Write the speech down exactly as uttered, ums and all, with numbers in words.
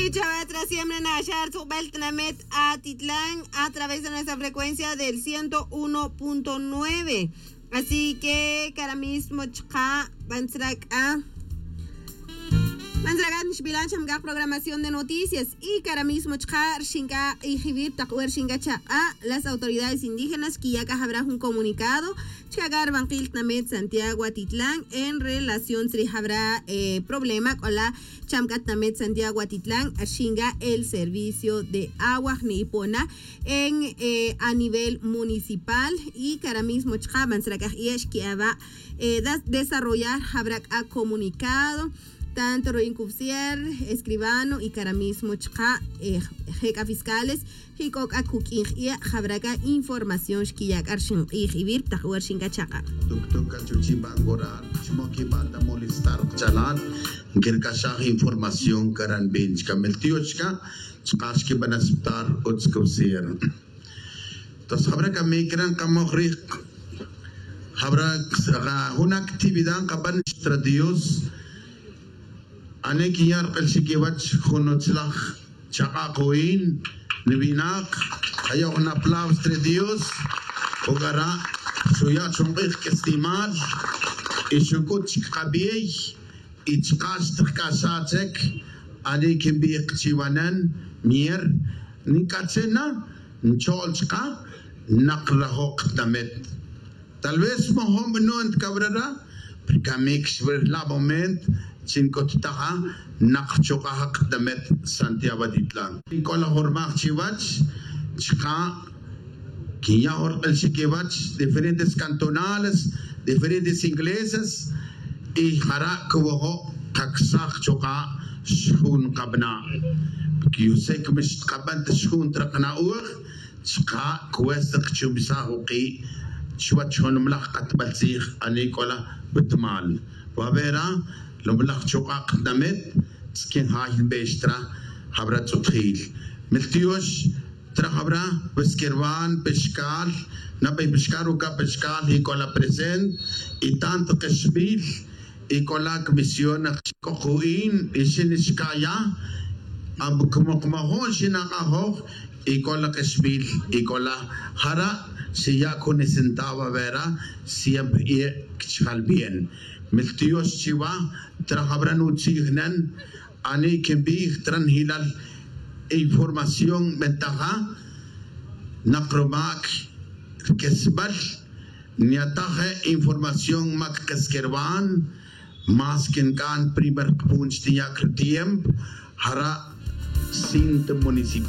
Y chawach ra siempre naxar tzujbel tnamet atitlan a través de nuestra frecuencia del ciento uno punto nueve. Así que cara mismo chka bantzrak'a bantzrak'a nixbilan chamk'a programación de noticias. Y cara mismo chka rxinka q'ijibir tak wer xinka chak'a las autoridades indígenas que ya k'a jabra jun comunicado chka k'a rbanqil tnamet Santiago Atitlan en relación tzri jabra problema k'ola chamk'a tnamet Santiago Atitlan, xinga el servicio de agua jni'ipona en a nivel municipal. Y cara mismo chka bantzrak'a jie' xki'aba desarrollar jabra k'a comunicado tanto ruin cufsier escribano y cara mismo chka je' k'a fiscales. Jik'o k'a kuk'in jie' jabra k'a información xkiya' k'a rxin q'ij ivir tak wer xin k'a chaka'. Tuktuk k'a chuchi' bancoral chmo kibal ta molestar kchalal. Nkerkaxaj información karanbin chka meltioch chka chka xkiban aceptar utz cufsier. Entonces jabra k'a mikran kamoj rij jabra jun actividad nkaban xtra dios. Ane kinya' rk'el chikiwach jun utzlaj chak'a' ku'in niwinak. Ayo' jun aplauso tre dios. Uk'ara' xuya' chunk'ij k'estimal y xuk'ut chik kabiey y chka' xtjk'axaj chek. Ani kinbij chiwanen mier nk'ache' na ncho'l chka' naq rajoq tnamet. Tal vez mojob nu'nt kabrara prkamik xwirla' moment chi nk'uttaj a naq rchuk'aj k'tamet santiago atitlan. K'o laj jun rmaj chiwach chka' kinya' jun rk'il chikiwach diferentes cantonales diferentes iglesias. Y jara' kuwojo' kaksaj chuka' xjun kabna' porque yusek mix tkaban ta xjun traq na'oj. Chka' cuesta kchumisaj uki' chuwach jun mlaj katbal tzij ani k'ola wetmal wabera lomlaj chuk'a' knamet. Tzkin jay nbextra jabra tz'utjil miltiox tra jabra weskerwan pexkal nabey pexkal uka' pexkal y k'ola present y tant kexbil. Y k'ola comisión naq chik'oq ju'in y xin xkaya como qmajo'n xinak'ajoj. Y k'ola k'exbil y k'ola jara' xiya' jun esentavo avera siempre y kchjal bien. Miltiox chiwa tra jabra nutzij nen ani' kinbij tra njilal información bentaja naq rumak' rkesbal. Nyataje' información mak keskerwan mas kink'an primer kpun chtiya' krtiempo. Jara' cinto municipal.